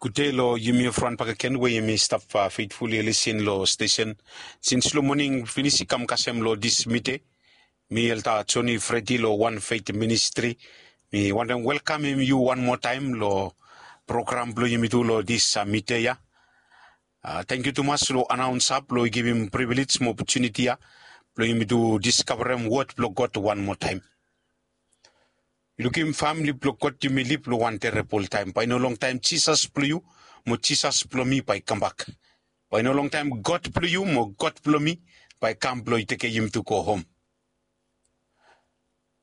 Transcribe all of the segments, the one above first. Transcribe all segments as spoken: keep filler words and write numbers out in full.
Gud dei long yumi evriwan bakegen we yumi stap, uh, feitful i lisin long stesen. Sins long moning finis i kam kasem long dis mide, mi Elder Johnny Freddy long One Faith Ministry, mi wantem welkamem yu wan moa taem long program blong yumi tu long dis, uh, mide ya. Uh, tangkiu tumas long anaonsa blong i givim privilej mo opotuniti ya blong yumi tu diskavarem wod blong God wan moa taem. Yu lukim, famili blong God, yumi liv long wan terebol taem. Bae i no longtaem Jisas blong yu mo Jisas blong mi bae i kambak. Bae i no longtaem God blong yu mo God blong mi bae i kam blong i tekem yumi tu go hom.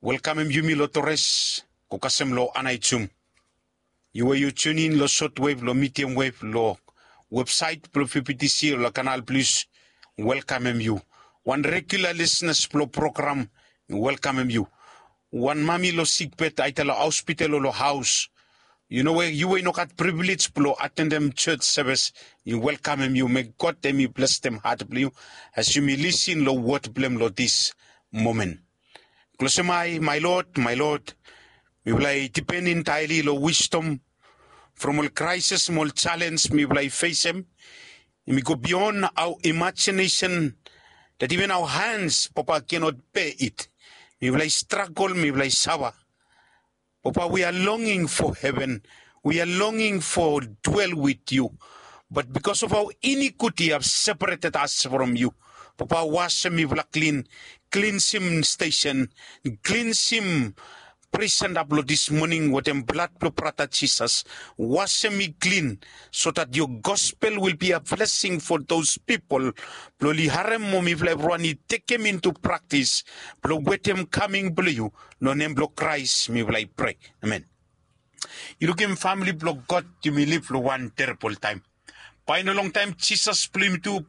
Welkamem yumi long Torres, go kasem long Aneityum. Yu we yu tune in long shortwave, long medium wave, long website blong P P T C, long Canal Plus, welkamem yu. Wan regular listeners blong program, welkamem yu. Wan mami long sikbed, aida long hospital o long haos, yu no we yu we i no gat privilej blong atendem church service, mi welkamem yu. May God hemi blesem hat blong yu as yumi lisin long wod blong hem long dis momen. Klosem ae, my Lord, my Lord. Mifala i dipen entaeli long wisdom from ol kraesis mo ol jalenj mifala i fesem. Hemi go beyond our imagination, that even our hands, Papa, cannot bear it. Mifala i stragol, mifala i safa. Papa, we are longing for heaven. We are longing for dwell with you. But because of our iniquity have separated us from you. Papa, wasem mifala klin, klinsim stesen, klinsim pres senda blong dis moning wetem blad blong brata Jisas. Wasem mi klin, so that your gospel will be a blessing for those people blong oli harem mo mifala evriwan i tekem into practice blong wetem kaming blong yu. Long nem blong Kraes mifala i prea. Amen. Yu lukim, famili blong God, yumi liv long wan terebol taem. Bae i no longtaem Jisas blong yumi tu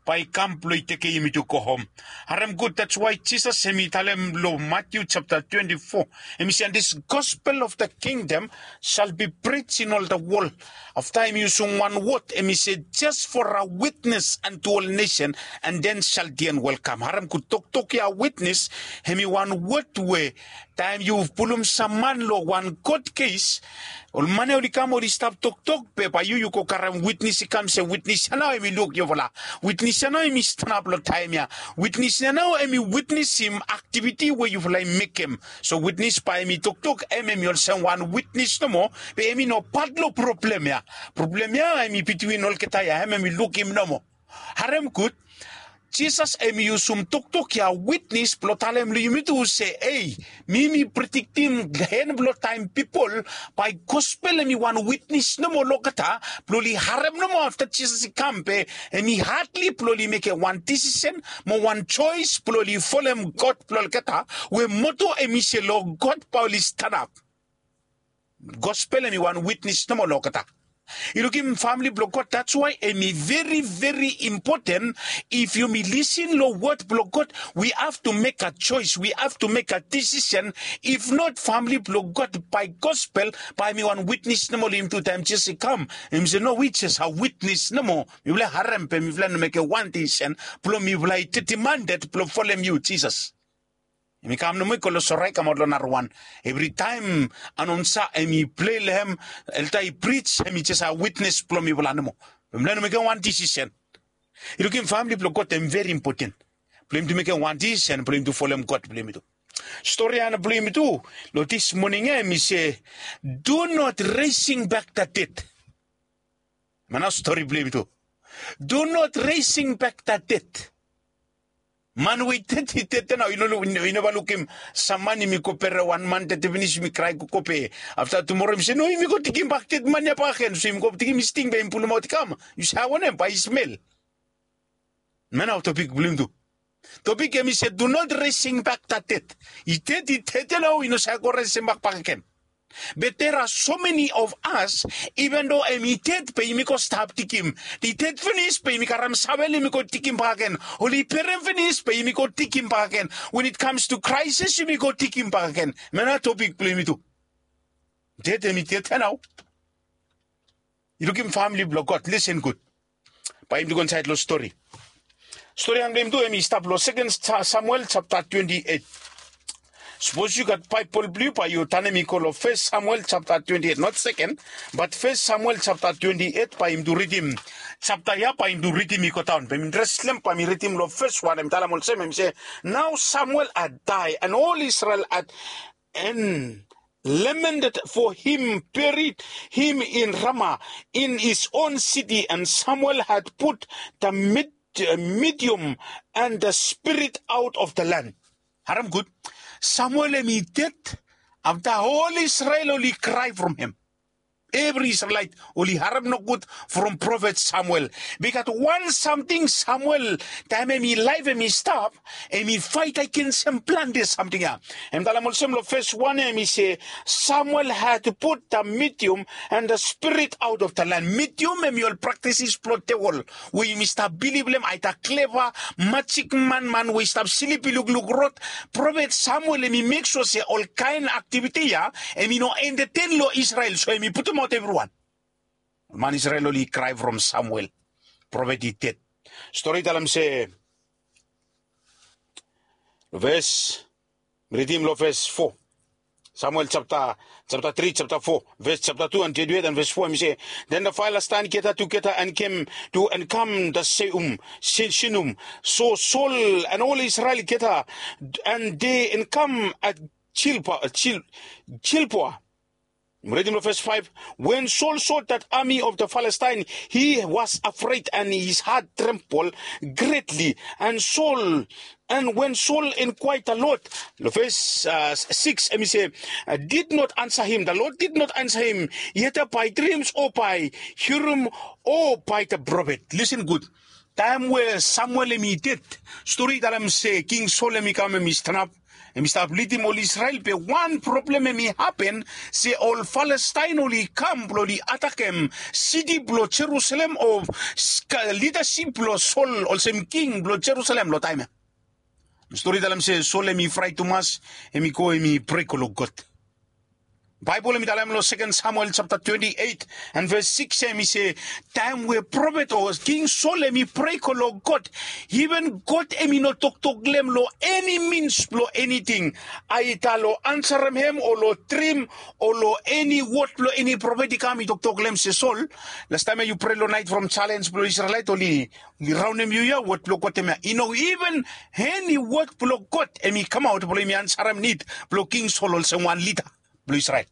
bae i kam blong i tekem yumi tu go hom. Harem gud, that's why Jisas hemi talem long Matthew chapter twenty-four, hemi se, and this gospel of the kingdom shall be preached in all the world. Afta hemi yusum wan wod, hemi se, just for a witness unto all nation, and then shall the end will come. Harem gud, toktok ya witness, hemi wan wod we taem yu pulum sam man long wan kot kes, ol man ya oli kam oli stap toktok, be bae yu yu go karem witnes i kam se witnes ya nao hemi luk yufala. Witnes ya nao hemi stanap long taem ya. Witnes ya nao hemi witnesim aktiviti we yufala i mekem. So witnes bae hemi toktok, hem hemi olsem wan witnes nomo, be hemi no pat long problem ya. Problem ya hemi bitwin olgeta ya, hem hemi lukim nomo. Harem gud. Jisas hemi yusum toktok ya witnes blong talem long yumi tu se, ei, mi mi prediktim hen blong taem pipol bae gospel hemi wan witnes nomo long olgeta blong oli harem nomo afta Jisas i kam, be hemi hadli blong oli mekem wan disisen mo wan joes blong oli folem God blong olgeta, we moto hemi se long God bae oli stanap. Gospel hemi wan witnes nomo long olgeta. Yu lukim, famili blong God, that's why hemi veri, veri impoten. If yumi lisin long wod blong God, we have to make a choice, we have to make a decision. If not, famili blong God, bae gospel bae hemi wan witnes nomo long yumi tu taem Jisas i kam. Hemi se, no, we just a witnes nomo. Mifala harem be mifala no mekem wan disisen blong mifala i determined blong folem yu Jisas. Hemi kam nomo i go long sora i kamaot long narawan. Evritaem anaonsa hemi plei long hem, elda i prij, hemi jes a witnes blong mifala nomo. Mifala no mekem wan disisen. Yu lukim, famili blong God, hemi veri impoten blong yumi tu mekem wan disisen blong yumi tu folem God blong yumi tu. Stori ya nao blong yumi tu long dis moning ya hemi se, do not raising back the dead. Hemia nao stori blong yumi tu. Do not raising back the dead. Man we i ded i ded nao, yu no lu-, yu neva lukim sam man hemi go bere wan man ded finis, hemi krae gogo be afta tumoro hemi se, no, yumi go digim bak ded man ya bakegen. So yumi go digim hemi sting be yumi pulumaot i kam. Yu save wanem, bae i smel. Hemia nao topik blong yumi tu. Topik hemi se, do not raising back the dead. I ded, i ded ya nao, i no save go resemem bak bakegen. But there are so many of us, even though hemi ded be yumi go stap digim. I ded finis be yumi karem savel yumi go digim bakegen. Oli berem finis be yumi go digim bakegen. When it comes to crisis yumi go digim bakegen. Hemia nao topik blong yumi tu. Ded hemi ded ya nao. Yu lukim, famili blong God, lisen gud. Bae yumi tu go insaed long stori. Stori ya blong yumi tu hemi stap long Second Sa-, Samuel chapter twenty-eight. Sapos yu gat Baebol blong yu, bae yu tanem i go long Fes Samuel japta twenti et, not seken, bat Fes Samuel japta twenti et, bae yumi tu ridim japta ya, bae yumi tu ridim i go daon. Bae yumi dres long hem, bae yumi ridim long ves wan, hem i talem olsem, hem i se, "Now Samuel had died, and all Israel had, and lamented for him, buried him in Ramah, in his own city, and Samuel had put the mid-, uh, medium and the spirit out of the land." Harem gud. Samuel hem i ded, afta ol Israel oli krae from hem. Evri Israelaet oli harem nogud from profet Samuel. Bikos wan samting Samuel, taem hem i laef hem i stap, hem i faet agens hem plante samting ya. Hem talem olsem long ves wan ya, hem i se, "Samuel had put the medium and the spirit out of the land." Medium hem i ol praktisis blong devil we yumi stap bilif long hem, aeda kleva, majik man, man we i stap slip i lukluk rod. Profet Samuel hem i mek sua se olkaen aktiviti ya hem i no enterten long Israel, so hem i putumaot evriwan. Man Israel oli krae from Samuel. Profet i ded. Stori i talem se, ves, ridim long ves fo. Samuel japta, japta tri, japta fo, ves japta tu, and twenti et, and ves fo, hem i se, "Then the Philistine gathered together and came to encamp the Seum, Sin-, Shinum." So Saul and all Israel gathered, and they encamp at Gilboa, Gil-, Gilboa. Ridim long ves faef. When Saul saw that army of the Philistine, he was afraid and his heart trembled greatly. And Saul, and when Saul inquired the Lord, long ves, uh, sikis, hem i se, uh, did not answer him. The Lord did not answer him, either by dreams or by Urim or by the prophet. Listen gud. Taem we Samuel hem i ded, stori i talem se King Saul hem i kam, hem i stanap, hem i stap lidim ol Israel, be wan problem hem i hapen, se ol Palestain oli kam blong oli atakem siti blong Jerusalem o s-, ka-, lidasip blong Sol olsem king blong Jerusalem long taem ya. Stori talem se Sol hem i fraet tumas, hem i go hem i prea go long God. Baebol hem i talem long Seken Samuel japta twenti et and ves sikis ya, hem i se, taem we profet o King Sol hem i prea go long God, iven God hem i no toktok long hem long eni mins blong eniting. Aeda long ansarem hem o long drim o long eni wod blong eni profet i kam i toktok long hem se, "Sol, lastaem ya yu prea long naet from jalens blong Israelaet oli, oli raonem yu ya, wod blong God hemia i no iven eni wod blong God hem i kamaot blong hem i ansarem nid blong King Sol olsem wan lida blong Israel."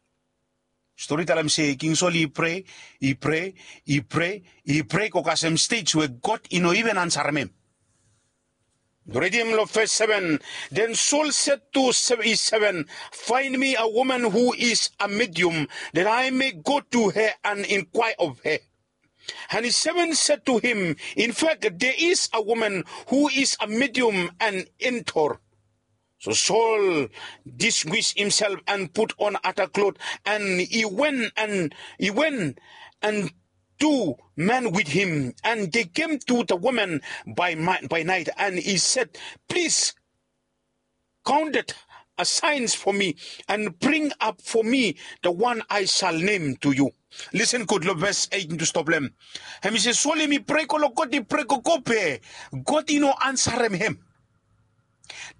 Stori talem se King Sol i prea, i prea, i prea, i prea go kasem stej we God i no iven ansarem hem. Ridim long ves seven. Then Saul said to se-, his servant, "Find me a woman who is a medium, that I may go to her and inquire of her." And his servant said to him, "In fact, there is a woman who is a medium and Endor." So Saul disguised himself and put on other clothes, and he went and, he went and two men with him, and they came to the woman by mi-, by night, and he said, "Please, count the assigns for me and bring up for me the one I shall name to you." Listen gud long ves eit tu stop long hem. Hem i se Sol hem i prea go long God, i prea gogo be God i no ansarem hem.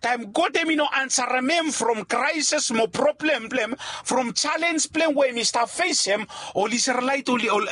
Taem God hem i no ansarem hem from kraeses mo problem blong hem, from jalens blong hem we hem i stap fesem, ol Israelaet oli, ol